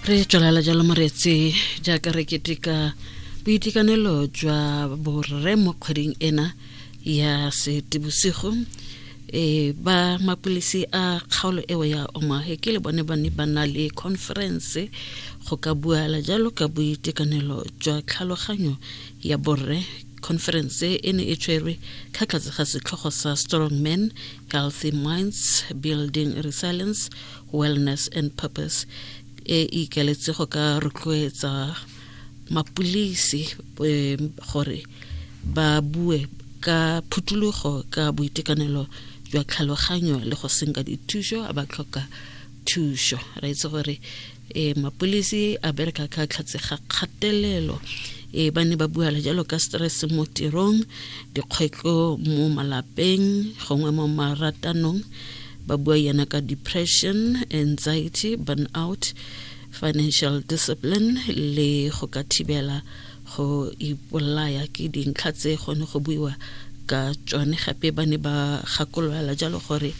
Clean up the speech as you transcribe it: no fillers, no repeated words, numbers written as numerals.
Re tswelela jalo moreetsi jaaka re keteka boitekanelo jwa borre mo kgweding ena ya Seetebosigo. E ba mapolisi a kgaolo eo ya Omahe ke le bone ba ne ba na le conference go ka buala jalo ka boitekanelo jwa tlhaloganyo ya borre. Conference e ne e tshwerwe ka tlase ga setlhogo sa Strong Men, Healthy Minds, Building Resilience, Wellness and Purpose, e ikaletse go ka rotloetsa mapolisi gore ba bue ka phuthulogo ka boitekanelo jwa tlhaloganyo le go senka dithuso a ba tlhoka thuso. Ra itse gore mapolisi a bereka ka tlhatse ga kgatelelo. Ba ne ba buala jalo ka stress mo tirong, dikgwetlho mo malapeng gongwe mo maratanong, ba bua yana ka depression, anxiety, burnout, financial discipline le go ka thibela go ipolaya. Ke dintlha tse gone go buiwa ka tsone. Gape ba ne ba gakolola jalo gore